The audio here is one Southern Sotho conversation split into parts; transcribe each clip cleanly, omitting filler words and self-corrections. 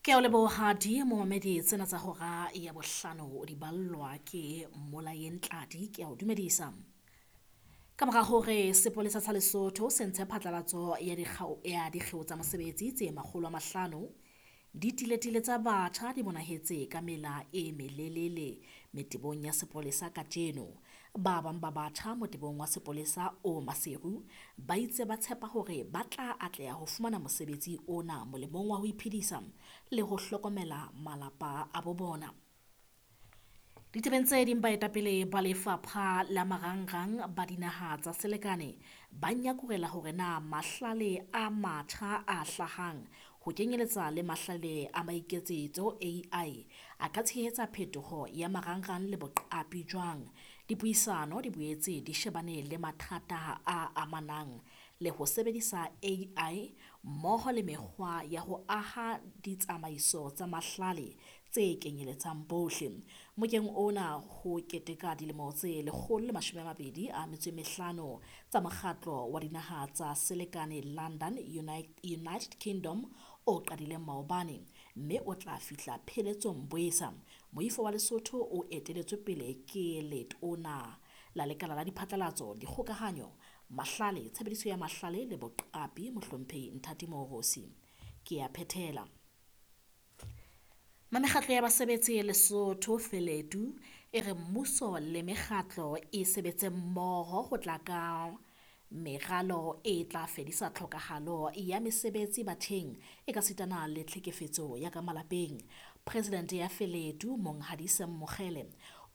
Ke a o leboha di momamedi tsena tsa hora ya bohlano di ballwa ke Mmolayeng Tladi. Ke a o dumedisa. Ka mora hore sepolesa sa Lesotho se ntshe phatlalatso ya dikgeo tsa mosebetsi tse 500, ditiletile tsa batjha di bonahetse ka mela e melelele metebong ya sepolesa kajeno. Ba bang ba batjha motebong wa sepolesa o Maseru ba itse ba tshepa hore ba tla atleha ho fumana mosebetsi ona molemong wa ho iphedisa le ho hlokomela malapa a bo bona. Ditebeng tse ding, baetapele ba lefapha la marangrang ba dinaha tsa selekane ba nyakurela hore na mahlale a matjha a hlahang ho kenyeletsa le mahlale a maiketsetso AI a ka tshehetsa phetoho ya marangrang le boqapi jwang. Dipuisano di boetse di shebane le mathata a amanang le ho sebedisa AI mmoho le mekgwa ya ho aha ditsamaiso tsa mahlale tse kenyeletsang bohle. Mokeng ona ho keteka dilemo tse 125 tsa mokgatlo wa dinaha tsa selekane London, United Kingdom o qadileng maobane mme o tla fihla pheletsong Boesa. Moifo wa Lesotho o eteletswe pele ke letona la lekala la diphatlalatso, dikgokahanyo, mahlale, tshebediso ya mahlale le boqapi mohlomphehi Nthati Moorosi. Ke a phethela. Mekgatlo ya basebetsi Lesotho Feledu e re mmuso le mekgatlo e sebetse mmoho ho tla ka meralo e tla fedisa tlhokahalo ya mesebetsi batjheng e ka sitana le tlhekefetso ya ka malapeng. President ya Feledu Monghadi Sam Mokhele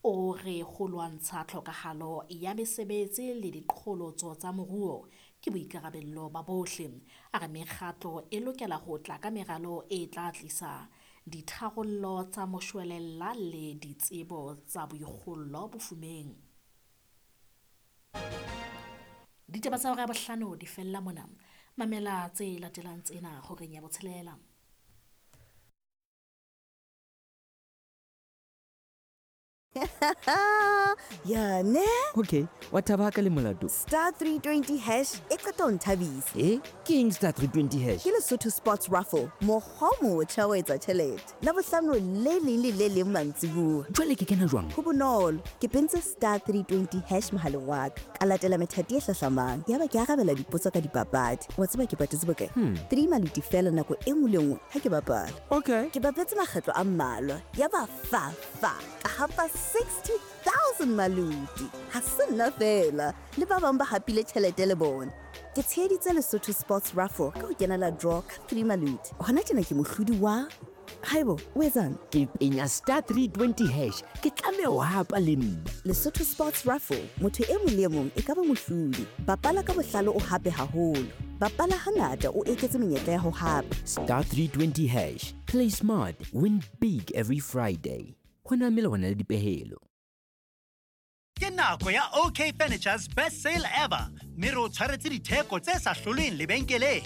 o re ho lwantsha tlhokahalo ya mesebetsi le diqholotso tsa moruo ke boikarabello ba bohle. A re mekgatlo e lokela ho tla ka meralo e tla tlisa ditharollo tsa moshwelella le ditsebo tsa boikgollo bofumeng. Ditaba tsa hora ya bohlano di fella mona. Mamela tse latelang tsena horeng ya botshelela. Ya ne? Okay, wa thaba ka le molato. Star 320 hash e qeta ho nthabisa. Ke eng star 320 hash? Ke Lesotho Sports Raffle, mokgwa o motjha wa etsa tjhelete. Labohlano le leng le le leng mantsibuya. Jwale ke kena jwang? Ho bonolo, ke pentse star 320 hash mohaleng wa ka. Ka latela methati e hlahlamang. Yaba ke arabela dipotso ka dipapadi. Wa tseba ke patetse bokae? 3 maluti fela nako e nngwe le nngwe ha ke bapala. Okay. Ke bapetse makgetlo a mmalwa. Yaba fa fa ka hapa 60,000 maluti. Ha se nna fela, le ba bang ba hapile tjhelete le bona. Ke tsheheditse Lesotho Sports Raffle ka ho kenela draw ka 3 maluti. Hona tjena ke mohlodi wa Haibo, o etsang? Ke penya star 320 hash. Ke tlameha ho hapa le nna. Lesotho Sports Raffle, motho e mong le e mong e ka ba mohlodi. Bapala ka bohlale o hape haholo. Bapala hangata o eketse menyetla ya ho hapa. Star 320 hash. Play smart, win big every Friday. Ho na melawana le dipehelo. Ke nako ya OK Furniture's best sale ever, mme re o tshwaretse ditheko tse sa hlolweng lebenkeleng.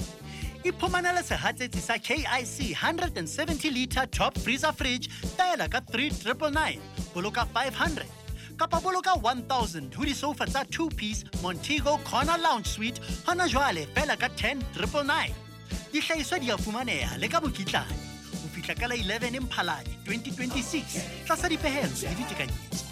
Iphumanele sehatsetsi sa KIC 170 liter top freezer fridge fela ka 3999, boloka 500 kapa boloka 1000 ho disofa tsa 2-piece Montego Corner Lounge Suite hona jwale fela ka 10999. Dihlahiswa di a fumaneha le ka mokitlane ho fihla ka la 11 Mphalane 2026 tlasa dipehelo le ditekanyetso.